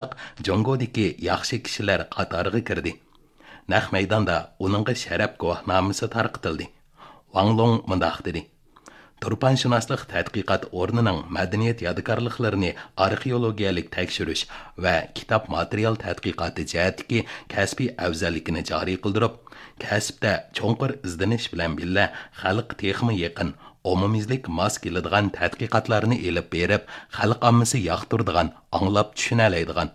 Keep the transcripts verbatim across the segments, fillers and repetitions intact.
جۇڭگودىكى ياخشى كىشىلەر قاتارىغا كىردى. نەق مەيداندا ئۇنىڭغا شەرەپ گۇۋاھنامىسى تارقىتىلدى. ۋاڭ لۇڭ مۇنداق دېدى: تۇرپانشۇناسلىق تەتقىقات ئورنىنىڭ مەدەنىيەت يادىكارلىقلىرىنى ئارخېئولوگىيەلىك تەكشۈرۈش ۋە كىتاب ماتېرىيال تەتقىقاتى جەھەتتىكى كەسپىي ئەۋزەللىكىنى جارى قىلدۇرۇپ، كەسىپتە چوڭقۇر ئىزدىنىش بىلەن بىللە، خەلققە تېخىمۇ يېقىن، ئومۇميۈزلۈك ماس كېلىدىغان تەتقىقاتلارنى ئېلىپ بېرىپ، خەلق ئاممىسى ياقتۇرىدىغان، ئاڭلاپ چۈشىنەلەيدىغان،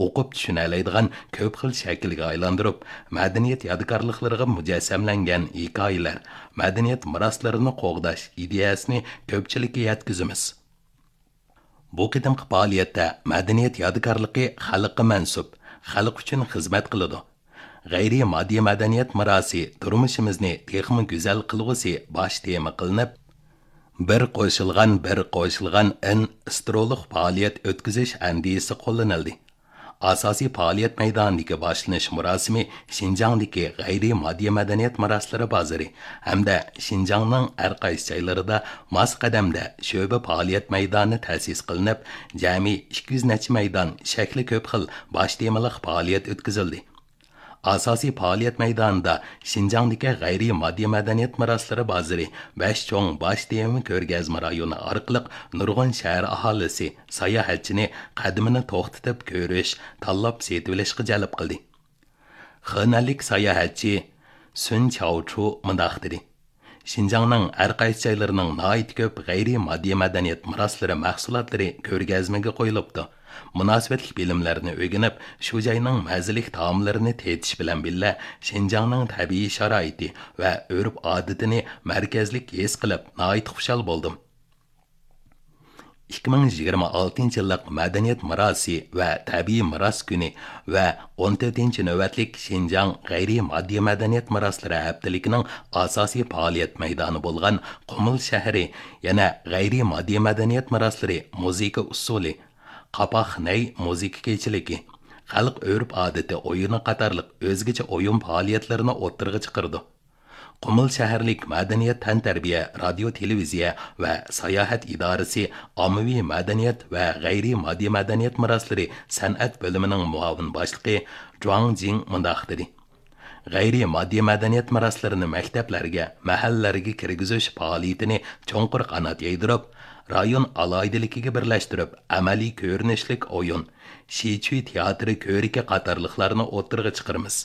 ئوقۇپ چۈشىنەلەيدىغان كۆپ خىل شەكىلگە ئايلاندۇرۇپ، مەدەنىيەت يادىكارلىقلىرىغا مۇجەسسەملەنگەن ھېكايىلەر، مەدەنىيەت مىراسلىرىنى قوغداش ئىدىيەسىنى كۆپچىلىككە يەتكۈزىمىز. بۇ قېتىمقى پائالىيەتتە مەدەنىيەت يادىكارلىقى خەلققە مەنسۇپ، خەلق ئۈچۈن خىزمەت قىلىدۇ. غەيرىي ماددىي مەدەنىيەت مىراسى تۇرمۇشىمىزنى تېخىمۇ گۈزەل قىلغۇسى باش تېما قىلىنىپ، بىر قوشۇلغان، بىر قوشۇلغان ئىن ئىسترولۇق پائالىيەت ئۆتكۈزۈش ئەندىزىسى قوللىنىلدى. ئاساسىي پائالىيەت مەيدانىدىكى باشلىنىش مۇراسىمى شىنجاڭدىكى غەيرىي ماددىي مەدەنىيەت مىراسلىرى بازىرى ھەمدە شىنجاڭنىڭ ھەر قايسى جايلىرىدا ماس قەدەمدە شۆبە پائالىيەت مەيدانى تەسىس قىلىنىپ، جەمئىي ئىككى يۈز نەچچە مەيدان شەكلى كۆپ خىل باش تېمىلىق پائالىيەت ئۆتكۈزۈلدى. ئاساسىي پائالىيەت مەيدانىدا شىنجاڭدىكى غەيرىي ماددىي مەدەنىيەت مىراسلىرى بازىرى، بەش چوڭ باش تېما كۆرگەزمە رايونى ئارقىلىق نۇرغۇن شەھەر ئاھالىسى، ساياھەتچىنى قەدىمىنى توختىتىپ كۆرۈش، تاللاپ سېتىۋېلىشقا جەلپ قىلدى. خېنەنلىك ساياھەتچى سۈن چاۋچۇ مۇنداق دېدى: شىنجاڭنىڭ ھەر قايسى جايلىرىنىڭ ناھايىتى كۆپ غەيرىي ماددىي مەدەنىيەت مىراسلىرى مەھسۇلاتلىرى كۆرگەزمىگە قويۇلۇپتۇ. مۇناسىۋەتلىك بىلىملەرنى ئۆگىنىپ، شۇ جاينىڭ مەززىلىك تائاملىرىنى تېتىش بىلەن بىللە، شىنجاڭنىڭ تەبىئىي شارائىتى ۋە ئۆرپ-ئادىتىنى مەركەزلىك ھېس قىلىپ، ناھايىتى خۇشال بولدۇم. ئىككى مىڭ يىگىرمە ئالتىنچى يىللىق مەدەنىيەت مىراسى ۋە تەبىئىي مىراس كۈنى ۋە ئون تۆتىنچى نۆۋەتلىك شىنجاڭ غەيرىي ماددىي مەدەنىيەت مىراسلىرى ھەپتىلىكىنىڭ ئاساسىي پائالىيەت مەيدانى بولغان قۇمۇل شەھىرى يەنە غەيرىي ماددىي مەدەنىيەت مىراسلىرى مۇزىكا ئۇسسۇلى، قاپاق نەي مۇزىكا كېچىلىكى، خەلق ئۆرپ-ئادىتى ئويۇنى قاتارلىق ئۆزگىچە ئويۇن پائالىيەتلىرىنى ئوتتۇرىغا چىقىرىدۇ. قۇمۇل شەھەرلىك مەدەنىيەت، تەنتەربىيە، رادىيو، تېلېۋىزىيە ۋە ساياھەت ئىدارىسى ئاممىۋى مەدەنىيەت ۋە غەيرىي ماددىي مەدەنىيەت مىراسلىرى سەنئەت بۆلۈمىنىڭ مۇئاۋىن باشلىقى جۇاڭ جىڭ مۇنداق دېدى: غەيرىي ماددىي مەدەنىيەت مىراسلىرىنى مەكتەپلەرگە، مەھەللىلەرگە كىرگۈزۈش پائالىيىتىنى چوڭقۇر قانات يايدۇرۇپ، رايون ئالاھىدىلىكىگە بىرلەشتۈرۈپ، ئەمەلىي كۆرۈنۈشلۈك ئويۇن، شىچۈي تىياتىرى كۆرىكى قاتارلىقلارنى ئوتتۇرىغا چىقىرىمىز.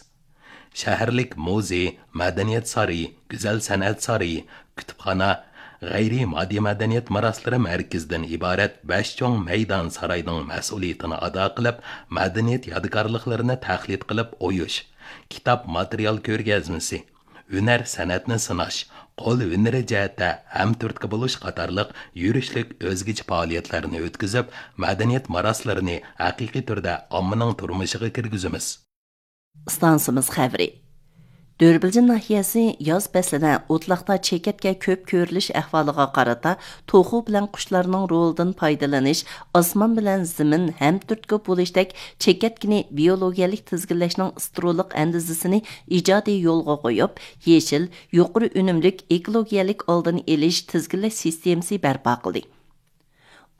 شەھەرلىك مۇزېي، مەدەنىيەت سارىيى، گۈزەل سەنئەت سارىيى، كۇتۇپخانا، غەيرىي ماددىي مەدەنىيەت مىراسلىرى مەركىزىدىن ئىبارەت بەش چوڭ مەيدان ساراينىڭ مەسئۇلىيىتىنى ئادا قىلىپ، مەدەنىيەت يادىكارلىقلىرىنى تەقلىد قىلىپ ئويۇش، كىتاب ماتېرىيال كۆرگەزمىسى، ھۈنەر سەنئەتنى سىناش، قول ھۈنىرى جەھەتتە ھەمتۈرتكە بولۇش قاتارلىق يۈرۈشلۈك ئۆزگىچە پائالىيەتلەرنى ئۆتكۈزۈپ، مەدەنىيەت مىراسلىرىنى ھەقىقىي تۈردە ئاممىنىڭ تۇرمۇشىغا كىرگۈزىمىز. ئىستانسىمىز خەۋىرى. دۆربىلجىن ناھىيەسى ياز پەسلىدە ئوتلاقتا چېكەتكە كۆپ كۆرۈلۈش ئەھۋالىغا قارىتا، توخۇ بىلەن قۇشلارنىڭ رولىدىن پايدىلىنىش، ئاسمان بىلەن زېمىن ھەمتۈرتكە بولۇشتەك چېكەتكىنى بىيولوگىيەلىك تىزگىنلەشنىڭ ئىسترولۇق ئەندىزىسىنى ئىجادىي يولغا قويۇپ، يېشىل، يۇقىرى ئۈنۈملۈك ئېكولوگىيەلىك ئالدىنى ئېلىش تىزگىنلەش سىستېمىسى بەرپا قىلدى.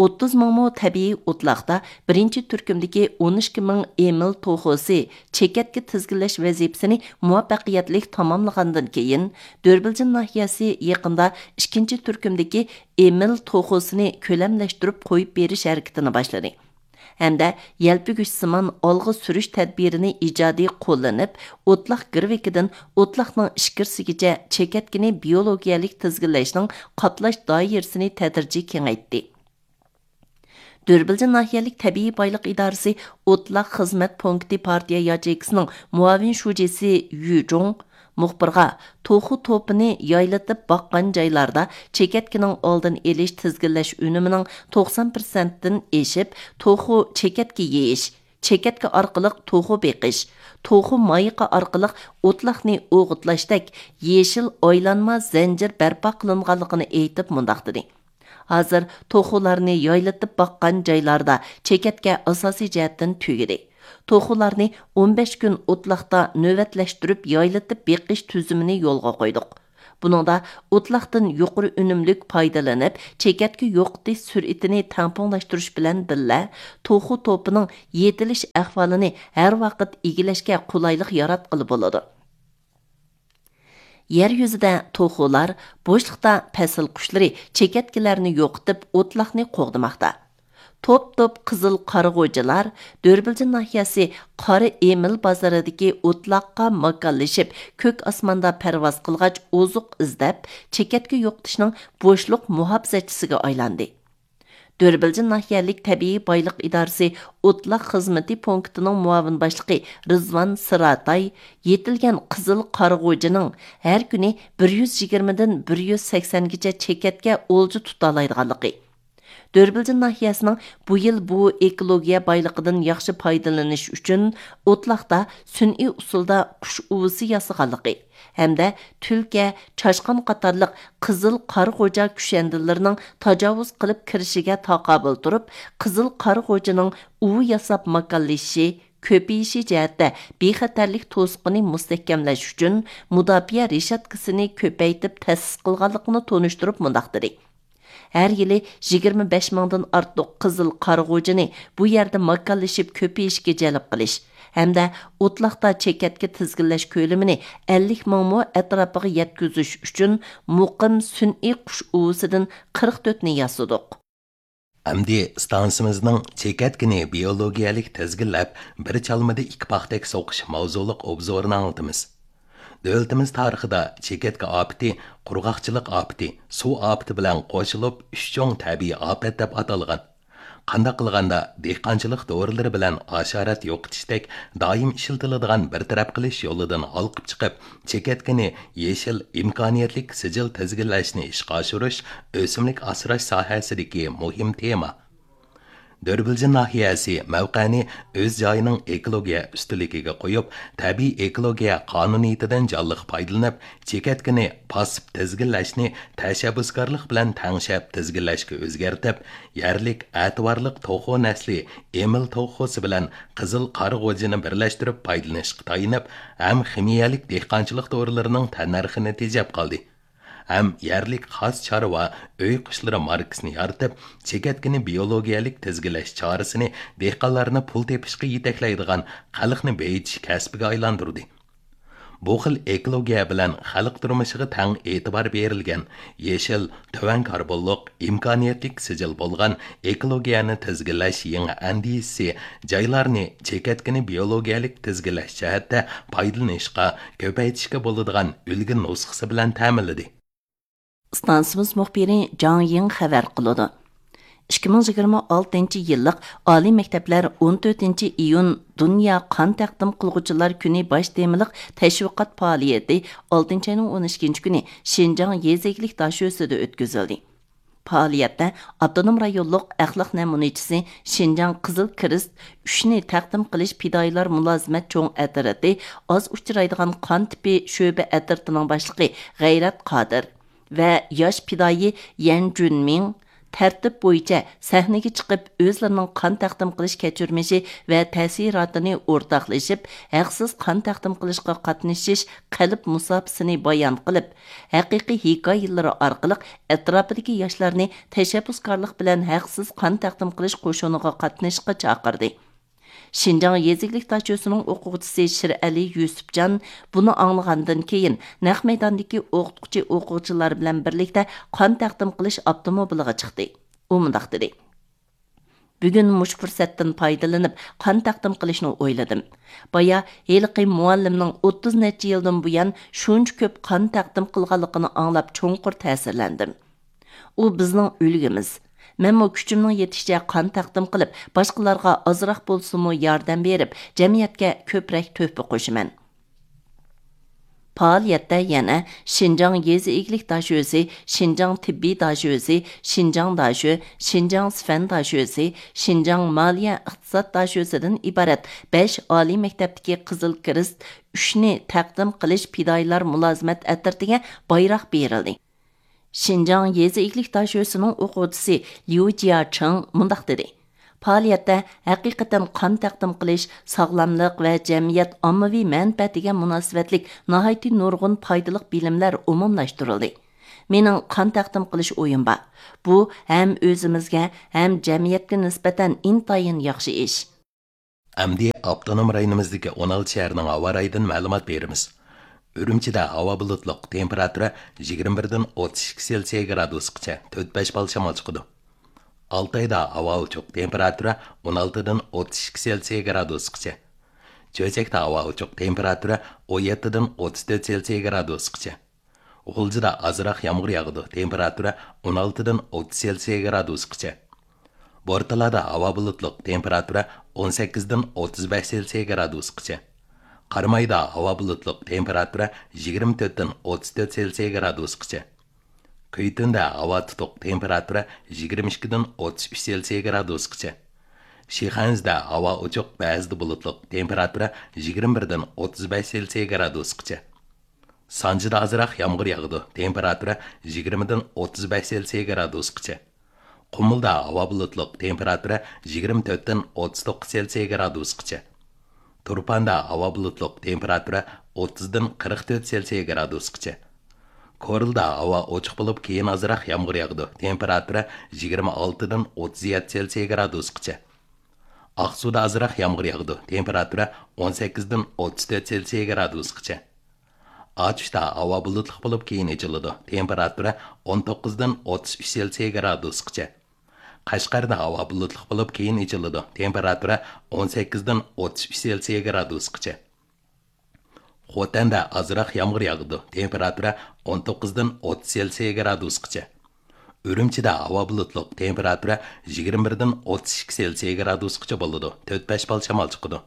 ئوتتۇز مىڭ مو تەبىئىي ئوتلاقتا بىرىنچى تۈركۈمدىكى ئون ئىككى مىڭ ئېمىل توخۇسى چېكەتكە تىزگىنلەش ۋەزىپىسىنى مۇۋەپپەقىيەتلىك تاماملىغاندىن كېيىن، دۆربىلجىن ناھىيەسى يېقىندا ئىككىنچى تۈركۈمدىكى ئېمىل توخۇسىنى كۆلەملەشتۈرۈپ قويۇپ بېرىش ھەرىكىتىنى باشلىدى ھەمدە يەلپۈگۈچسىمان ئالغا سۈرۈش تەدبىرىنى ئىجادىي قوللىنىپ، ئوتلاق گىرۋىكىدىن ئوتلاقنىڭ ئىچكىرىسىگىچە چېكەتكىنى بىيولوگىيەلىك تىزگىنلەشنىڭ قاتلاش دائىرىسىنى تەدرىجىي كېڭەيتتى. دۆربىلجىن ناھىيەلىك تەبىئىي بايلىق ئىدارىسى ئوتلاق خىزمەت پونكىتى پارتىيە ياچېيكىسىنىڭ مۇئاۋىن شۇجىسى يۈ جۇڭ مۇخبىرغا، توخۇ توپىنى يايلىتىپ باققان جايلاردا چېكەتكىنىڭ ئالدىنى ئېلىش تىزگىنلەش ئۈنۈمىنىڭ توقسان پىرسەنتتىن ئېشىپ، توخۇ چېكەتكە يېيىش، چېكەتكە ئارقىلىق توخۇ بېقىش، توخۇ مايىقى ئارقىلىق ئوتلاقنى ئوغۇتلاشتەك يېشىل ئايلانما زەنجىر بەرپا قىلىنغانلىقىنى ئېيتىپ مۇنداق دېدى: ھازىر توخۇلارنى يايلىتىپ باققان جايلاردا چېكەتكە ئاساسىي جەھەتتىن تۈگىدى. توخۇلارنى ئون بەش كۈن ئوتلاقتا نۆۋەتلەشتۈرۈپ يايلىتىپ بېقىش تۈزۈمىنى يولغا قويدۇق. بۇنىڭدا ئوتلاقتىن يۇقىرى ئۈنۈملۈك پايدىلىنىپ، چېكەتكە يوقىتىش سۈرئىتىنى تەڭپۇڭلاشتۇرۇش بىلەن بىللە، توخۇ توپىنىڭ يېتىلىش ئەھۋالىنى ھەر ۋاقىت ئىگىلەشكە قولايلىق ياراتقىلى بولىدۇ. يەر يۈزىدە توخۇلار، بوشلۇقتا پەسىل قۇشلىرى چېكەتكىلەرنى يوقىتىپ، ئوتلاقنى قوغدىماقتا. توپ-توپ قىزىل قارىغۇچىلار دۆربىلجىن ناھىيەسى قارا ئېمىل بازىرىدىكى ئوتلاققا ماكانلىشىپ، كۆك ئاسماندا پەرۋاز قىلغاچ، ئوزۇق ئىزدەپ، چېكەتكە يوقىتىشنىڭ بوشلۇق مۇھاپىزەتچىسىگە ئايلاندى. دۆربىلجىن ناھىيەلىك تەبىئىي بايلىق ئىدارىسى ئوتلاق خىزمىتى پونكىتىنىڭ مۇئاۋىن باشلىقى رىزۋان سىراتاي يېتىلگەن قىزىل قارىغۇچىنىڭ ھەر كۈنى بىر يۈز يىگىرمىدىن بىر يۈز سەكسەنگىچە چېكەتكە ئولجا تۇتالايدىغانلىقى، دۆربىلجىن ناھىيەسىنىڭ بۇ يىل بۇ ئېكولوگىيە بايلىقىدىن ياخشى پايدىلىنىش ئۈچۈن ئوتلاقتا سۈنئىي ئۇسۇلدا قۇش ئۇۋىسى ياسىغانلىقى ھەمدە تۈلكە، چاشقان قاتارلىق قىزىل قارىغۇچا كۈشەندىلىرىنىڭ تاجاۋۇز قىلىپ كىرىشىگە تاقابىل تۇرۇپ، قىزىل قارىغۇچىنىڭ ئۇۋا ياساپ ماكانلىشىشى، كۆپىيىشى جەھەتتە بىخەتەرلىك توسۇقىنى مۇستەھكەملەش ئۈچۈن مۇداپىئە رېشاتكىسىنى كۆپەيتىپ تەسىس قىلغانلىقىنى تونۇشتۇرۇپ مۇنداق دېدى: ھەر يىلى يىگىرمە بەش مىڭدىن ئارتۇق قىزىل قارىغۇچىنى بۇ يەردە ماكانلىشىپ كۆپىيىشكە جەلپ قىلىش ھەمدە ئوتلاقتا چېكەتكە تىزگىنلەش كۆلىمىنى ئەللىك مىڭ مو ئەتراپىغا يەتكۈزۈش ئۈچۈن مۇقىم سۈنئىي قۇش ئۇۋىسىدىن قىرىق تۆتنى ياسىدۇق. ئەمدى ئىستانسىمىزنىڭ چېكەتكىنى بىئولوگىيەلىك تىزگىنلەپ، بىر چالمىدا ئىككى پاختەك سوقۇش ماۋزۇلۇق ئوبزورىنى ئاڭلىتىمىز. دۆلىتىمىز تارىخىدا چېكەتكە ئاپىتى قۇرغاقچىلىق ئاپىتى، سۇ ئاپىتى بىلەن قوشۇلۇپ ئۈچ چوڭ تەبىئىي ئاپەت دەپ ئاتالغان. قانداق قىلغاندا دېھقانچىلىق دورىلىرى بىلەن ھاشارات يوقىتىشتەك دائىم ئىشلىتىلىدىغان بىر تەرەپ قىلىش يولىدىن ھالقىپ چىقىپ، چېكەتكىنى يېشىل، ئىمكانىيەتلىك سىجىل تىزگىنلەشنى ئىشقا ئاشۇرۇش ئۆسۈملۈك ئاسراش ساھەسىدىكى مۇھىم تېما. دۆربىلجىن ناھىيەسى مەۋقەنى ئۆز جايىنىڭ ئېكولوگىيە ئۈستۈنلۈكىگە قويۇپ، تەبىئىي ئېكولوگىيە قانۇنىيىتىدىن جانلىق پايدىلىنىپ، چېكەتكىنى پاسسىپ تىزگىنلەشنى تەشەببۇسكارلىق بىلەن تەڭشەپ تىزگىنلەشكە ئۆزگەرتىپ، يەرلىك ئەتىۋارلىق توخۇ نەسلى ئېمىل توخۇسى بىلەن قىزىل قارىغۇچىنى بىرلەشتۈرۈپ پايدىلىنىشقا تايىنىپ، ھەم خىمىيەلىك دېھقانچىلىق دورىلىرىنىڭ تەننەرخىنى تېجەپ قالدى. ھەم يەرلىك خاس چارۋا ئۆي قۇشلىرى ماركىسىنى يارىتىپ، چېكەتكىنى بىئولوگىيەلىك تىزگىنلەش چارىسىنى دېھقانلارنى پۇل تېپىشقا يېتەكلەيدىغان، خەلقنى بېيىتىش كەسپىگە ئايلاندۇردى. بۇ خىل ئېكولوگىيە بىلەن خەلق تۇرمۇشىغا تەڭ ئېتىبار بېرىلگەن، يېشىل، تۆۋەن كاربونلۇق، ئىمكانىيەتلىك سىجىل بولغان ئېكولوگىيەنى تىزگىنلەش يېڭى ئەندىزىسى جايلارنى چېكەتكىنى بىئولوگىيەلىك تىزگىنلەش جەھەتتە پايدىلىنىشقا، كۆپەيتىشكە بولىدىغان ئۈلگە نۇسخىسى بىلەن تەمىنلىدى. ئىستانسىمىز مۇخبىرى جاڭ يىڭ خەۋەر قىلىدۇ. ئىككى مىڭ يىگىرمە ئالتىنچى يىللىق ئالىي مەكتەپلەر ئون تۆتىنچى ئىيۇن دۇنيا قان تەقدىم قىلغۇچىلار كۈنى باش تېمىلىق تەشۋىقات پائالىيىتى ئالتىنچى ئاينىڭ ئون ئىككىنچى كۈنى شىنجاڭ يېزا ئىگىلىك داشۆسىدە ئۆتكۈزۈلدى. پائالىيەتتە ئاپتونوم رايونلۇق ئەخلاق نەمۇنىچىسى، شىنجاڭ قىزىل كىرېست ئۈچنى تەقدىم قىلىش پىدائىيلار مۇلازىمەت چوڭ ئەترىتى، ئاز ئۇچرايدىغان قان تىپى شۆبە ئەترىتىنىڭ باشلىقى غەيرەت قادىر ۋە ياش پىدائىي يەن جۈنمىڭ تەرتىپ بويىچە سەھنىگە چىقىپ، ئۆزلىرىنىڭ قان تەقدىم قىلىش كەچۈرمىشى ۋە تەسىراتىنى ئورتاقلىشىپ، ھەقسىز قان تەقدىم قىلىشقا قاتنىشىش قەلب مۇساپىسىنى بايان قىلىپ، ھەقىقىي ھېكايىلىرى ئارقىلىق ئەتراپىدىكى ياشلارنى تەشەببۇسكارلىق بىلەن ھەقسىز قان تەقدىم قىلىش قوشۇنىغا قاتنىشىشقا چاقىردى. شىنجاڭ يېزا ئىگىلىك داشۆسىنىڭ ئوقۇغۇچىسى شىرئەلى يۈسۈپجان بۇنى ئاڭلىغاندىن كېيىن، نەق مەيداندىكى ئوقۇتقۇچى ئوقۇغۇچىلار بىلەن بىرلىكتە قان تەقدىم قىلىش ئاپتوموبىلىغا چىقتى. ئۇ مۇنداق دېدى: بۈگۈن مۇشۇ پۇرسەتتىن پايدىلىنىپ، قان تەقدىم قىلىشنى ئويلىدىم. بايا ھېلىقى مۇئەللىمنىڭ ئوتتۇز نەچچە يىلدىن بۇيان شۇنچە كۆپ قان تەقدىم قىلغانلىقىنى ئاڭلاپ، چوڭقۇر تەسىرلەندىم. ئۇ بىزنىڭ ئۈلگىمىز. مەنمۇ كۈچۈمنىڭ يېتىشىچە قان تەقدىم قىلىپ، باشقىلارغا ئازراق بولسىمۇ ياردەم بېرىپ، جەمئىيەتكە كۆپرەك تۆھپە قوشىمەن. پائالىيەتتە يەنە شىنجاڭ يېزا ئىگىلىك داشۆسى، شىنجاڭ تېببىي داشۆسى، شىنجاڭ داشۆ، شىنجاڭ سىفەن داشۆسى، شىنجاڭ مالىيە ئىقتىساد داشۆسىدىن ئىبارەت بەش ئالىي مەكتەپتىكى قىزىل كىرېست ئۈچنى تەقدىم قىلىش پىدائىيلار مۇلازىمەت ئەترىتىگە بايراق بېرىلدى. شىنجاڭ يېزا ئىگىلىك داشۆسىنىڭ ئوقۇغۇچىسى ليۇ جياچىڭ مۇنداق دېدى: پائالىيەتتە ھەقىقەتەن قان تەقدىم قىلىش، ساغلاملىق ۋە جەمئىيەت ئاممىۋى مەنپەئەتىگە مۇناسىۋەتلىك ناھايىتى نۇرغۇن پايدىلىق بىلىملەر ئومۇملاشتۇرۇلدى. مېنىڭ قان تەقدىم قىلىش ئويۇم بار. بۇ ھەم ئۆزىمىزگە، ھەم جەمئىيەتكە نىسبەتەن ئىنتايىن ياخشى ئىش. ئەمدى ئاپتونوم رايونىمىزدىكى ئون ئالتە شەھەرنىڭ ھاۋا رايىدىن مەلۇمات بېرىمىز. ئۈرۈمچىدە ھاۋا بۇلۇتلۇق، تېمپېراتۇرا يىگىرمە بىردىن ئوتتۇز ئىككى سېلسىيە گرادۇسقىچە، تۆت بەش بال شامال چىقىدۇ. ئالتايدا ھاۋا ئوچۇق، تېمپېراتۇرا ئون ئالتىدىن ئوتتۇز ئىككى سېلسىيە گرادۇسقىچە. چۆچەكتە ھاۋا ئوچۇق، تېمپېراتۇرا ئون يەتتىدىن ئوتتۇز تۆت سېلسىيە گرادۇسقىچە. غۇلجىدا ئازراق يامغۇر ياغىدۇ، تېمپېراتۇرا ئون ئالتىدىن ئوتتۇز سېلسىيە گرادۇسقىچە. بورتالادا ھاۋا بۇلۇتلۇق، تېمپېراتۇرا ئون سەككىزدىن ئوتتۇز بەش سېلسىيە گرادۇسقىچە. قارامايدا ھاۋا بۇلۇتلۇق، تېمپېراتۇرا يىگىرمە تۆتتىن ئوتتۇز تۆت سېلسىيە گرادۇسقىچە. كۈيتۈندە ھاۋا تۇتۇق، تېمپېراتۇرا يىگىرمە ئىككىدىن ئوتتۇز ئۈچ سېلسىيە گرادۇسقىچە. شىخەنزىدە ھاۋا ئوچۇق، بەزىدە بۇلۇتلۇق، تېمپېراتۇرا يىگىرمە بىردىن ئوتتۇز بەش سېلسىيە گرادۇسقىچە. سانجىدا ئازراق يامغۇر ياغىدۇ، تېمپېراتۇرا يىگىرمىدىن ئوتتۇز بەش سېلسىيە گرادۇسقىچە. قۇمۇلدا ھاۋا بۇلۇتلۇق، تېمپېراتۇرا يىگىرمە تۆتتىن ئوتتۇز توققۇز سېلسىيە گرادۇسقىچە. تۇرپاندا ھاۋا بۇلۇتلۇق، تېمپېراتۇرا ئوتتۇزدىن قىرىق تۆت سېلسىيە گرادۇسقىچە. كورلىدا ھاۋا ئوچۇق بولۇپ، كېيىن ئازراق يامغۇر ياغىدۇ، تېمپېراتۇرا يىگىرمە ئالتىدىن ئوتتۇز يەتتە سېلسىيە گرادۇسقىچە. ئاقسۇدا ئازراق يامغۇر ياغىدۇ، تېمپېراتۇرا ئون سەككىزدىن ئوتتۇز تۆت سېلسىيە گرادۇسقىچە. ئاتۇشتا ھاۋا بۇلۇتلۇق بولۇپ، كېيىن ئېچىلىدۇ، تېمپېراتۇرا ئون توققۇزدىن ئوتتۇز ئۈچ سېلسىيە گرادۇسقىچە. قەشقەردە ھاۋا بۇلۇتلۇق بولۇپ، كېيىن ئېچىلىدۇ، تېمپېراتۇرا ئون سەككىزدىن ئوتتۇز ئۈچ سېلسىيە گرادۇسقىچە. خوتەندە ئازراق يامغۇر ياغىدۇ، تېمپېراتۇرا ئون توققۇزدىن ئوتتۇز سېلسىيە گرادۇسقىچە. ئۈرۈمچىدە ھاۋا بۇلۇتلۇق، تېمپېراتۇرا يىگىرمە بىردىن ئوتتۇز ئىككى سېلسىيە گرادۇسقىچە بولىدۇ، تۆت بەش بال شامال چىقىدۇ.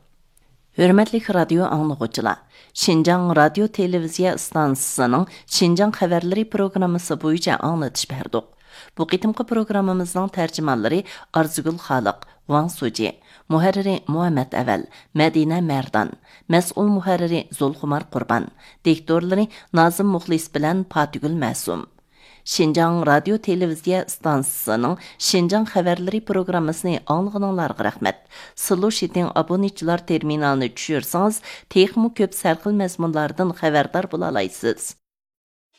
ھۆرمەتلىك رادىيو ئاڭلىغۇچىلار، شىنجاڭ رادىيو تېلېۋىزىيە ئىستانسىسىنىڭ شىنجاڭ خەۋەرلىرى پروگراممىسى بويىچە ئاڭلىتىش بەردۇق. بۇ قېتىمقى پروگراممىمىزنىڭ تەرجىمانلىرى ئارزۇگۈل خالىق، ۋاڭ سۇجى، مۇھەررىرى مۇھەممەت ئەۋەل، مەدىنە مەردان، مەسئۇل مۇھەررىرى زۇلخۇمار قۇربان، دىكتورلىرى نازىم مۇخلىس بىلەن پاتىگۈل مەسۇم. شىنجاڭ رادىيو تېلېۋىزىيە ئىستانسىسىنىڭ شىنجاڭ خەۋەرلىرى پروگراممىسىنى ئاڭلىغىنىڭلارغا رەھمەت. سىلۇشىتىڭ ئابۇنىچىلار تېرمىنالىنى چۈشۈرسىڭىز، تېخىمۇ كۆپ سەرخىل مەزمۇنلاردىن خەۋەردار بولالايسىز.